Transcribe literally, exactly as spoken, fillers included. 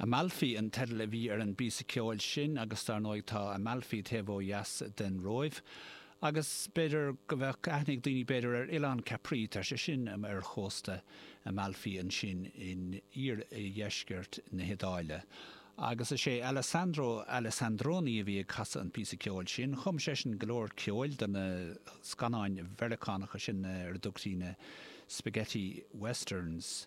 Amalfi an teideal a bhí ar an bpíosa ceoil sin agus dar ndóigh tá Amalfi taobh ó dheas den Róimh. Agus b'fhéidir go bheadh aithne ag daoine b'fhéidir ar Oileán Capri tá sé sin ar chósta Amalfi ansin in iardheisceart na hIodáile. Agus is é Alessandro Alessandroni a bhí ag casadh an píosa ceoil sin, chum seisean go leor ceoil do na scannáin Mheiriceánacha sin ar a dtugtaí na spaghetti westerns.